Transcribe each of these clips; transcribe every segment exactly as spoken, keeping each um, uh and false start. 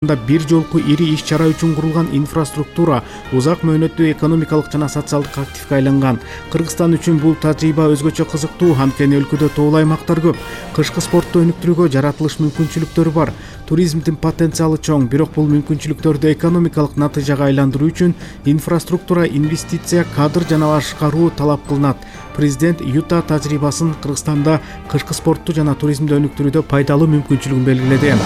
бир жолку ири иш-чара үчүн курулган инфраструктура узак мөөнөттүү экономикалык жана социалдык активге айланган. Кыргызстан үчүн бул тажрыйба өзгөчө кызыктуу, анткени өлкөдө тоолуу аймактар көп. Кышкы спортту өнүктүрүүгө жаратылыш мүмкүнчүлүктөрү бар. Туризмдин потенциалы чоң, бирок бул мүмкүнчүлүктөрдү экономикалык натыйжага айландыруу үчүн инфраструктура, инвестиция, кадр жана башкаруу талап кылынат. Президент Юта тажрыйбасын Кыргызстанда кышкы спортту жана туризмди өнүктүрүүдө пайдалуу мүмкүнчүлүгүн белгиледи.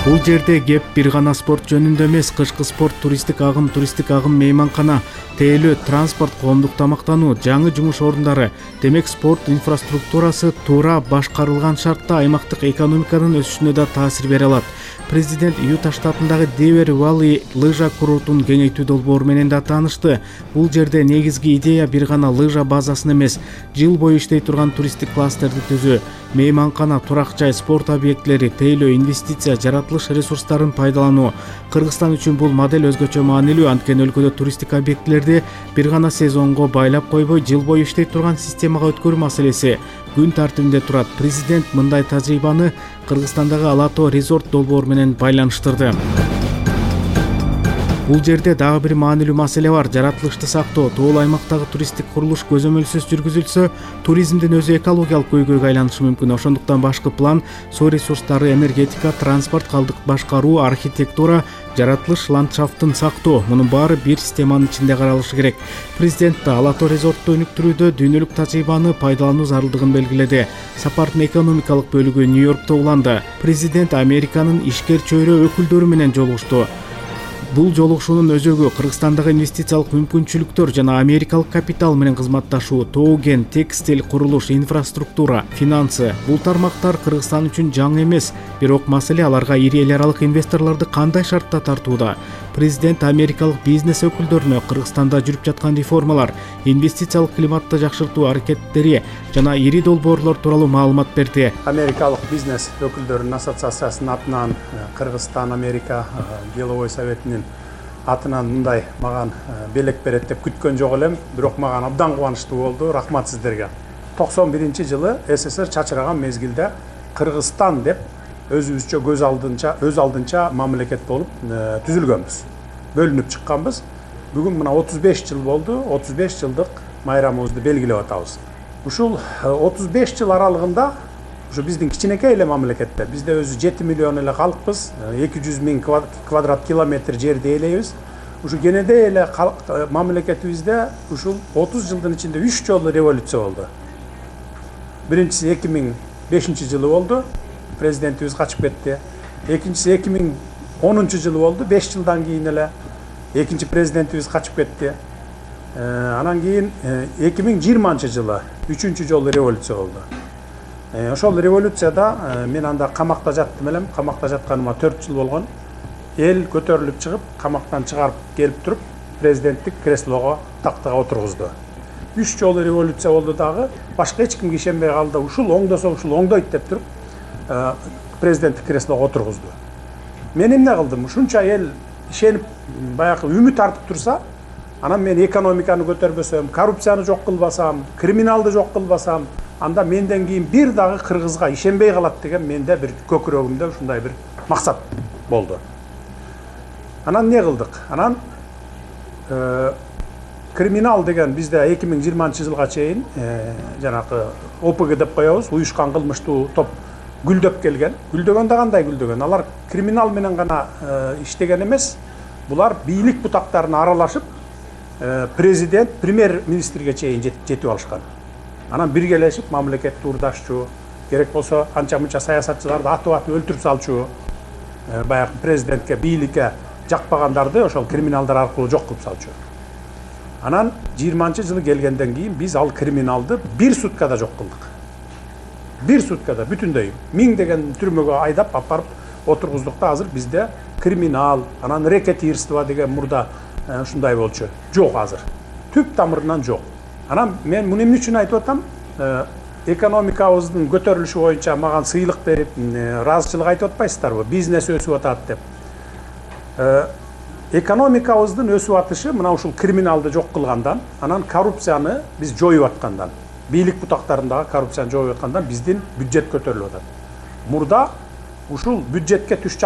Бул жерде кеп бир гана спорт жөнүндө эмес, кышкы спорт, туристтик агым, туристтик агым мейманкана, тейлөө, транспорт, коомдук тамактануу, жаңы жумуш ордундары, демек спорт инфраструктурасы туура башкарылган шартта аймактык экономиканын өсүшүнө да таасир бере алат. Президент Юта штатындагы Девер Валли лыжа курортун кеңейтүү долбоору менен да таанышты. Бул жерде негизги идея бир гана лыжа базасын эмес, жыл бою иштей турган туристтик кластерди түзүү, мейманкана, турак жай, спорт объектилери, тейлөө, инвестиция, жаратылыш ресурстарын пайдалануу. Кыргызстан үчүн бул модель өзгөчө маанилүү, анткени өлкөдө туристтик объектилерди бир гана сезонго байлап койбой, жыл бою иштей турган системага өткөрүү маселеси күн тартибинде турат. Президент мындай тажрыйбаны Кыргызстандагы Ала Тоо резорт долбоору менен байланыштырды. Бул жерде дагы бир маанилүү маселе бар. Жаратылышты сактоо. Тоолуу аймактагы туристтик курулуш көзөмөлсүз жүргүзүлсө, туризмдин өзү экологиялык көйгөйгө айланышы мүмкүн. Ошондуктан башкы план, суу ресурстары, энергетика, транспорт, калдык башкаруу, архитектура, жаратылыш ландшафтын сактоо. Мунун баары бир системанын ичинде каралышы керек. Президент да Ала Тоо резортту өнүктүрүүдө дүйнөлүк тажрыйбаны пайдалануу зарылдыгын белгиледи. Сапардын экономикалык бөлүгү Нью-Йоркто уланды. Президент Американын ишкер чөйрө өкүлдөрү менен жолугушту. Бул жолугушуунун өзөгү Кыргызстандагы инвестициялык мүмкүнчүлүктөр жана америкалык капитал менен кызматташуу, тоо кен, текстиль, курулуш, инфраструктура, финансы. Бул тармактар Кыргызстан үчүн жаңы эмес, бирок маселе аларга ири эл аралык инвесторлорду кандай шартта тартууда. Президент америкалык бизнес өкүлдөрүнө Кыргызстанда жүрүп жаткан реформалар, инвестициялык климатты жакшыртуу аракеттери жана ири долбоорлор тууралуу маалымат берди. Америкалык бизнес өкүлдөрүнүн ассоциациясынын атынан, Кыргызстан Америка деловой советинин атынан мындай маган белек берет деп күткөн жок элем, бирок маган абдан кубанычтуу болду. Рахмат сиздерге. токсон биринчи жылы СССР чачыраган мезгилде Кыргызстан деп өзүбүзчө көз алдынча, өз алдынча мамлекет болуп түзүлгөнбүз. Бөлүнүп чыкканбыз. Бүгүн мына отуз беш жыл болду. отуз беш жылдык майрамыбызды белгилеп атабыз. Ушул отуз беш жыл аралыгында ушу биздин кичинекей эле мамлекетте, бизде өзү жети миллион эле калкпыз, эки жүз миң квадрат километр жерди ээлейбиз. Ушу кенедей эле мамлекетибизде ушул отуз жылдын ичинде үч жолу революция болду. Биринчиси эки миң бешинчи жылы болду. Президентибиз качып кетти. Экинчиси эки миң онунчу жылы болду. беш жылдан кийин эле экинчи президентибиз качып кетти. Анан кийин эки миң жыйырманчы жылы үчүнчү жолу революция болду. Ошол революцияда мен анда камакта жаттым элем. Камакта жатканыма төрт жыл болгон. Эл көтөрүлүп чыгып, камактан чыгарып келип туруп, президенттик креслого, тактага отургузду. Үч жолу революция болду дагы. Башка эч кимге ишенбей калды. Ушул оңдосо ушул оңдойт деп туруп, президенттик креслого отургузду. Мен эмне кылдым? Ушунча эл ишенип, баягы үмүт артып турса, анан мен экономиканы көтөрбөсөм, коррупцияны жок кылбасам, криминалды жок кылбасам, анда менден кийин бир дагы кыргызга ишенбей калат деген менде бир көкүрөгүмдө ушундай бир максат болду. Анан эмне кылдык? Анан криминал деген бизде эки миң жыйырманчы жылга чейин жанагы О П Г деп коебуз, уюшкан кылмыштуу топ гүлдөп келген. Гүлдөгөн да кандай гүлдөгөн? Алар криминал менен гана иштеген эмес, булар бийлик бутактарына аралашып, президент, премьер-министрге чейин жетип алышкан. Анан биргелешип мамлекетти урдашчу, керек болсо анча-мынча саясатчыларды атып-атып өлтүрүп салчу, баягы президентке, бийликке жакпагандарды ошол криминалдар аркылуу жок кылып салчу. Анан жыйырманчы жылы келгенден кийин биз ал криминалды бир суткада жок кылдык. Бир суткада бүтүндөй миңдеген түрмөгө айдап апарып отургуздук да азыр бизде криминал, анан рекетирство деген мурда ушундай болчу. Жок азыр. Түп тамырынан жок. Анан мен муну эмне үчүн айтып атам? Экономикабыздын көтөрүлүшү боюнча маган сыйлык берип, ыраазычылык айтып атпайсыздарбы? Бизнес өсүп атат деп. Экономикабыздын өсүп атышы мына ушул криминалды жок кылгандан, анан коррупцияны биз жоюп аткандан, бийлик бутактарындагы коррупцияны жоюп аткандан биздин бюджет көтөрүлүп атат. Мурда ушул бюджетке түш